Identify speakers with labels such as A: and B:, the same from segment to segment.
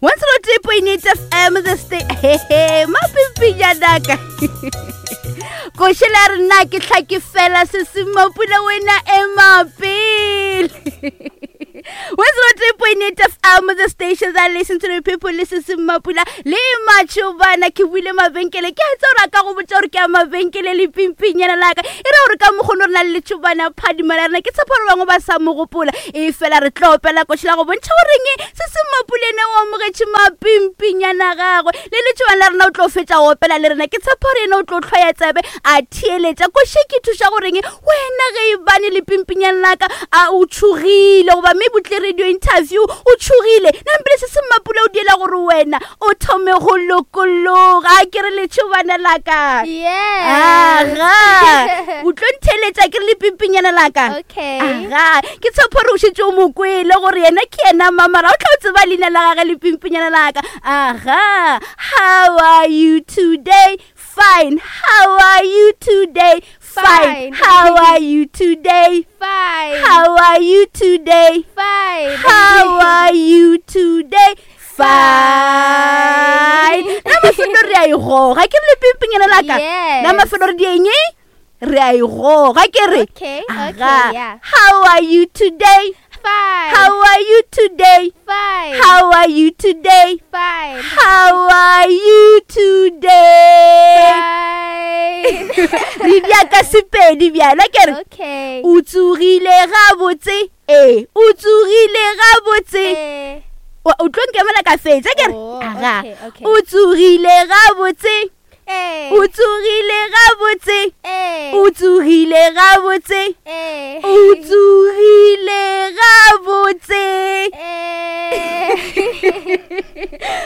A: 103.8 FM the state hehe mapimpinyana koše la re nna ke tlha ke fela se se mapula wena ema pele 103.8 FM the station that listen to the people listen se mapula le matšhobana ke buile mabenkele ke a tsa gore a ka go botša gore ke a mabenkele le pimpinyana laka e ra gore ka mokgono re na le letšhobana phadima la rena ke tshepa gore bangwe ba sa mo gopola e fela re tlo opela koši la go bontšha goreng se se mapulene o amogetše mapimpinyana gagwe le letšobana la rena o tlo fetša go opela le rena ke tshepa gore yena o tlo tlhwaya tsebe a theeletša koši ke thuša goreng wena ge e bane le pimpinyana laka a o tšhogile goba mme botle radio interview o tšhogile nampele se se mapule o diela gore wena o thome go lokologa a ke re letšhobana laka aga o tlo ntheletša ke re lepimpinyana laka aga ke tshepo gore o šetse o mo kwele gore yena ke yena mamara o tla o tseba leina la gage lepimpinyana laka aga how are you today fine how are you today fine how are you today
B: fine
A: how are you today
B: fine
A: how are you today fine na mafelo re a e goga ke re lepimpinyana laka na mafelo re dieng re a e goga ke re how are you today
B: Fine.
A: How are you today?
B: Fine.
A: How are you today?
B: Fine.
A: How are you today?
B: Fine.
A: Re bja ka sepedi bjala ke re.
B: Okay.
A: O tsogile gabotse. Ee, o tsogile gabotse.
B: Eh.
A: O tlo nkemela ka fetša ke re.
B: Oh,
A: Aga.
B: okay, okay.
A: O tsogile gabotse.
B: Eh.
A: O tsogile gabotse.
B: Eh.
A: O tsogile gabotse.
B: Eh.
A: O tsogile gabotse.
B: Eh.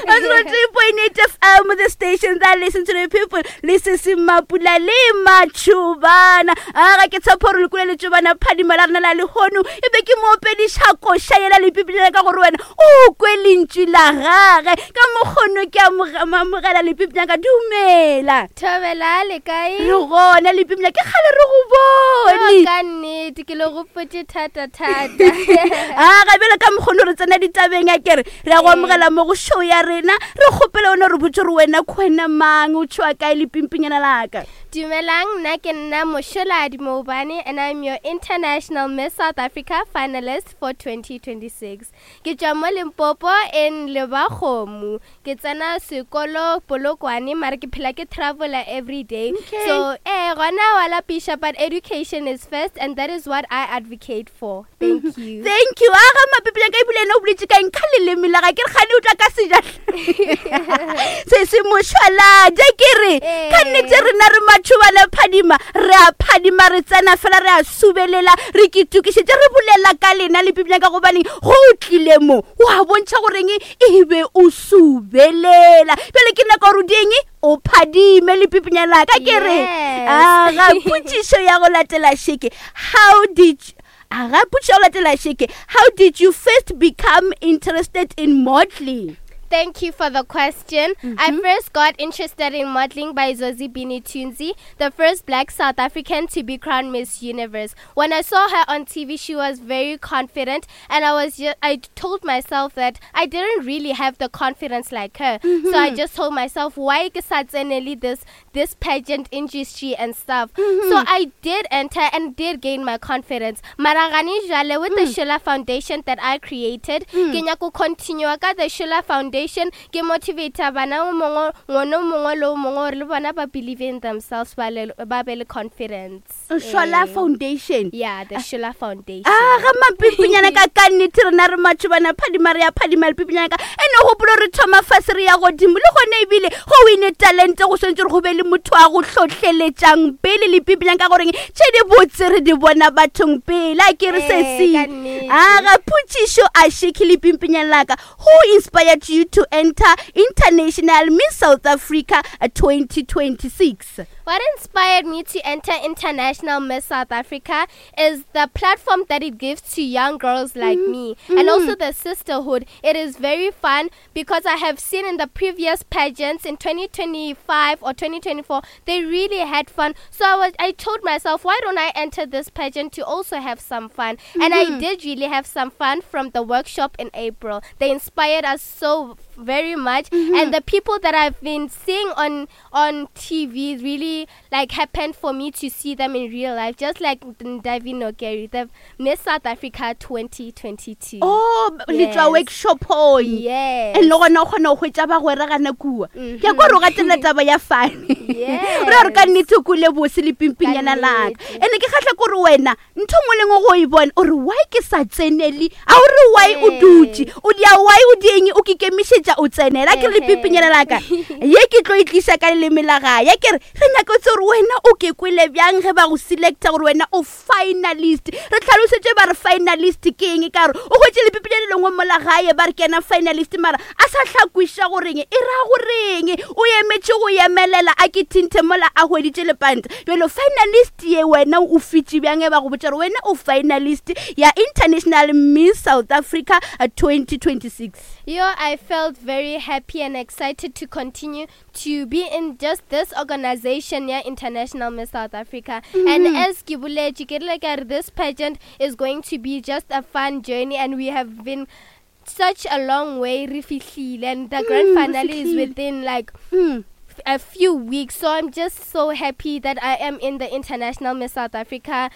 A: 103.8 FM the station that listen to the people le se se mapula le matšhobana a ga ke tshepo gore lekule letšobana phadima la rena la lehono e be ke moopediša koša yela lepipilana ka gore wena o kwe lentšu la gage ka mokgono ke amogela lepipilana ka dumela
B: Thobela le kae?
A: Re gona lepipilana ke kgale re go bone.
B: Ka nnete ke le gopotše thata thata.
A: A ga bjale ka mokgono re tsena ditabeng a kere re ya go amogela mo go show ya rena re kgopele wena re botse gore wena khwena mang o tšhoa kae lepimpinyana laka.
B: Dumelang, nna ke nna Mosholadi Moubane and I'm your International Miss South Africa finalist for 2026. Ke tšwa mo Limpopo in Lebakgomo. Ke tsena sekolo Polokwane mara ke phela ke traveler every day.
A: Okay.
B: So, eh gona wa lapiša but education is first and that is what I advocate for. Thank you.
A: Thank you. A ga mapepela ka ebile ena o boletse ka eng ka leleme la ga ke re gane o tla ka sejahla. Se se mošwaladi ke re ka nnete rena re matšhobana phadima re a phadima re tsena fela re a subelela re ke tokišetše re bolela ka lena le pipina ka gobaneng go o tlile mo wa bontšha goreng e be o subelela bjale ke nako gore o dieng o phadime le pipinya laka ke re aga potšišo ya go latela šeke how did aga potšišo ya go latela šeke how did you first become interested in modeling
B: Thank you for the question. Mm -hmm. I mm-hmm. first got interested in modeling by Zozibini Tunzi, the first black South African to be crowned Miss Universe. When I saw her on TV, she was very confident, and I was just, I told myself that I didn't really have the confidence like her. Mm -hmm. So I mm-hmm. just told myself, why ke sa this this pageant industry and stuff. Mm -hmm. So I did enter and did gain my confidence. Mara gane jwale with mm. the Shula Foundation that I created, mm. ke nyako continue ka the Shula Foundation ke motivate bana o mongwe ngwana o mongwe le o mongwe gore le bona ba believe in themselves ba le ba be le confidence.
A: Shola Foundation.
B: Yeah, the Shola Foundation.
A: Ah, ga mapipinyana ka ka nnete rena re matšhobana phadima re ya phadima lepipinyana ka ene gopolo re thoma fase re ya godimo le gone ebile go wine talente go swantse gore go be le motho a go hlohleletšang pele lepipinyana ka goreng tše di botse re di bona bathong pele a ke re
B: Eh,
A: sesi
B: ka nnete.
A: a ga potšišo a sheke lepimpinyana laka who inspired you to enter international miss south africa 2026
B: What inspired me to enter International Miss South Africa is the platform that it gives to young girls like mm -hmm. me mm -hmm. and also the sisterhood. It is very fun because I have seen in the previous pageants in 2025 or 2024, they really had fun. So I was I told myself, why don't I enter this pageant to also have some fun? Mm -hmm. And I mm-hmm. did really have some fun from the workshop in April. They inspired us so very much. And the people that I've been seeing on on TV really like happened for me to see them in real life, just like Ndavi Nokeri, the Miss South Africa 2022.
A: Oh, le tswa
B: Yes.
A: workshopong.
B: Yes.
A: And le gona o kgona go hwetša bagwera gana kua. Ke a kwa gore o gatelela taba ya fane.
B: Yes.
A: Re gore ka nnete o kule bose le pimpinyana
B: Ka
A: laka.
B: nnete.
A: Ene ke kgahla kore wena ntho nngwe le nngwe go e bona o re why ke sa tsenele a o re why o
B: Ee.
A: dutše o dia why o dieng o ke kemišetša o tsenela ke re
B: Ehe.
A: lepimpinyana laka ye ke tlo e tliša ka leleme la gae ya ke re re nyaka o tse gore wena o ke kwele bjang ge ba go selecta gore wena o finalist re tlhalosetše ba re finalist ke eng ka gore o hwetše lepipinyana le lengwe mola gae ba re ke yena finalist mara a sa hlakwiša goreng e ra goreng o emetše go emelela a ke thinthe mola a hweditše lepanta bjalo finalist ye wena o fitše bjang e ba go botša gore wena o finalist ya International Miss South Africa 2026?
B: Yo, I felt very happy and excited to continue to be in just this organization, yeah, International Miss South Africa. And as ke boletše, ke rile ka re this pageant is going to be just a fun journey, and we have been such a long way re fihlile, and the grand
A: Re
B: finale is
A: fihlile.
B: within like a few weeks. So I'm just so happy that I am in the International Miss South Africa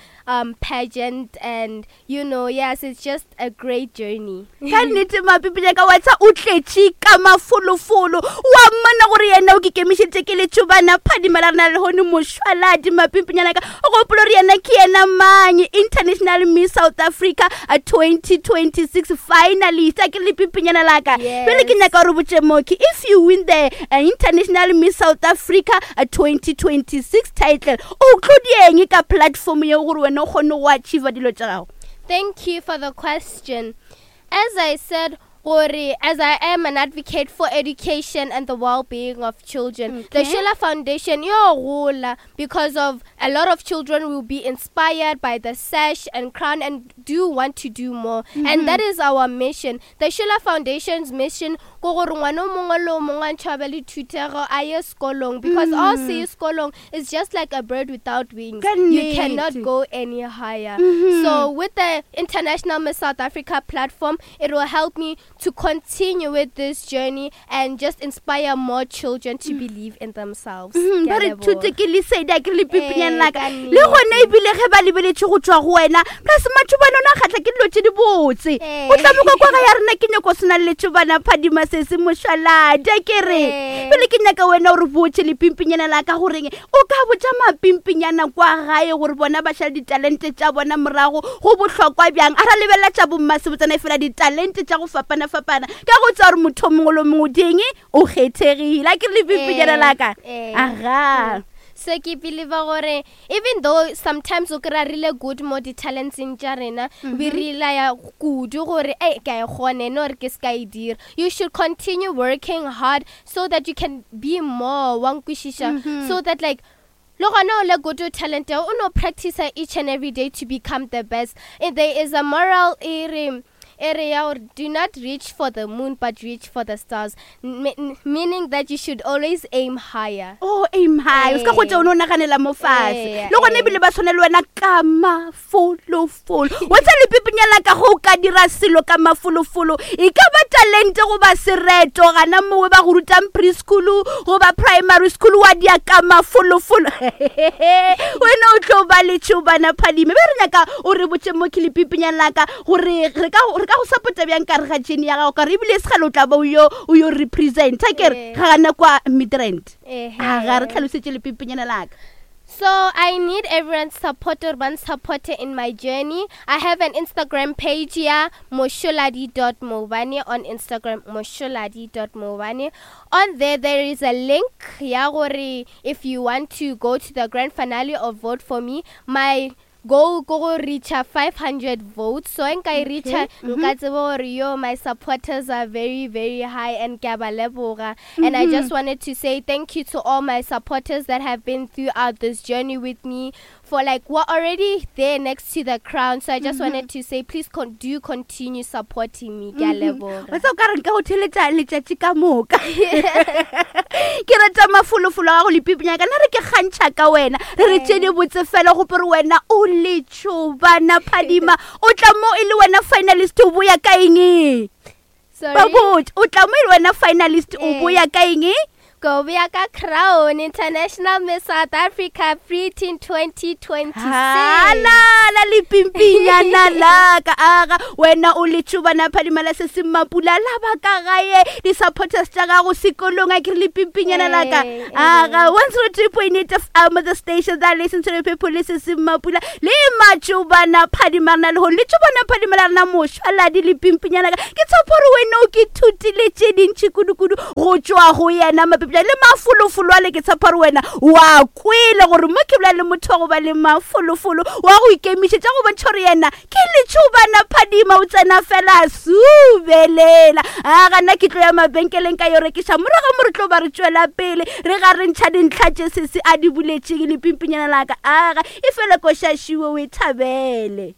B: pageant, and you know, yes, it's just a great journey.
A: Ka nnete mapipile ka wa tsa o tletše ka mafolofolo wa mmona gore yena o ke kemišeditše ke letšobana phadima la rena lehone mošwaladi mapimpinyana ka o gopola gore yena ke yena mang International Miss South Africa 2026 finalist a ke re lepimpinyana laka.
B: Yes.
A: Pele ke nyaka gore botše moki, if you win the International Miss South Africa 2026 title, o tlo dieng ka platform yeo gore wena o kgone go achieve dilo tša gago?
B: Thank you for the question. As I said, gore, as I am an advocate for education and the well-being of children, the Sheila Foundation, yo gola, because of a lot of children will be inspired by the sash and crown and do want to do more. And that is our mission. The Sheila Foundation's mission, ko gore ngwana o mongwe le o mongwe a ntšhabe le thutego a ye sekolong, because all se ye sekolong is just like a bird without wings.
A: Ka
B: You cannot
A: nnete.
B: go any higher. So with the International Miss South Africa platform, it will help me to continue with this journey and just inspire more children to believe in themselves. Ke a
A: Ba re
B: leboha.
A: thute ke lesedi a ke re lepipinyang
B: Ee,
A: laka
B: ka
A: le gona
B: nnete.
A: ebile ge ba lebeletše go tswa go wena plus matšhobana ona a kgatlha ke dilo tše di botse.
B: Ee.
A: O tla moka kwa ga ya rena ke nyako sena le letšhobana phadima se se mošwaladi a ke re.
B: Ee.
A: Pele ke nyaka wena o re botše lepimpinyana la ka goreng o ka botša mapimpinyana kwa gae gore bona ba šale ditalente tša bona morago go bohlokwa bjang a ra lebelela tša bommasebotsana e fela ditalente tša go fapana-fapana ka go tsa gore motho o mongwe le o mongwe o dieng o kgethegile a ke re lepimpinyana
B: Ee,
A: la ka.
B: ee.
A: Aga.
B: So ke believe gore even though sometimes o kry-a re le good mo di-talentseng tša rena, we relaya kudu gore ei ka e kgone no re ke se ka e dira, you should continue working hard so that you can be more wa nkwešiša, so that like le gona o le good o talent o no practice each and every day to become the best. And there is a moral e re e re ya gore do not reach for the moon but reach for the stars, meaning that you should always aim higher.
A: Oh, aim high, o se ka
B: Ee.
A: kgotsa o ne o naganela mo fatshe.
B: Ee,
A: Le gona
B: ee.
A: ebile ba tshwane le wena ka mafolofolo wa tsa lepipinyana ka go o ka dira selo ka mafolofolo e ka ba talente goba sereto gana mongwe ba go rutang preschool goba primary school wa dia ka mafolofolo wena o tlo ba letšhobana phadime be re nyaka o re botše mo ke lepipinyana laka gore re ka re ka go support-a bjang ka re ga jene ya gago ka re ebile segale o tla ba o yo o yo representa ke re
B: Ee.
A: ga gana kwa Midrand.
B: Ehe.
A: A ga re tlhalosetše lepimpinyana laka.
B: So I need everyone's support or one supporter in my journey. I have an Instagram page here, mosholadi.mobane on Instagram, mosholadi.mobane. On there, there is a link. Ya gore if you want to go to the grand finale or vote for me, my goal ko go reach 500 votes. So nka e reach nka tseba gore yo my supporters are very very high and ke a ba leboga. And I just wanted to say thank you to all my supporters that have been throughout this journey with me for like we're already there next to the crown. So I just wanted to say please do continue supporting me. Ke a leboga.
A: Wa tsa o ka re nka go theletša letšatši ka moka ke rata mafolofolo a gago lepipinyana ka nna re ke kgantšha ka wena re re tše di botse fela gope re wena o letšhobana phadima o tla mo e le wena finalist o boya ka eng?
B: So
A: Ba botse o tla mo e le wena finalist o boya ka eng?
B: Ko boya ka crown International Miss South Africa Preteen 2026.
A: Halala le pimpinyana la ka aga wena o le tšhobana phadima la se se mapula la ba ka gae di supporters tša gago sekolong a ke re le pimpinyana la ka aga 103.8 FM the station that listen to the people le se se mapula le matšobana phadima rena le le tšobana phadima la rena mošwaladi le pimpinyana ka ke tshepo gore wena o ke thutile tše dintši kudu-kudu go tšwa go yena mapepša le mafolofolo ale ke tshepa gore wena wa kwele gore mo ke bola le motho wa go ba le mafolofolo wa go ikemišetša go bontšha gore yena ke letšhobana phadima o tsena fela subelela a gana ke tlo ya mabenkeleng ka yo rekiša morago mo re tlo ba re tšwela pele re ga re ntšha dintlha tše sese a di buletšeng lepimpinyana laka aga e fela košašiwe o e thabele.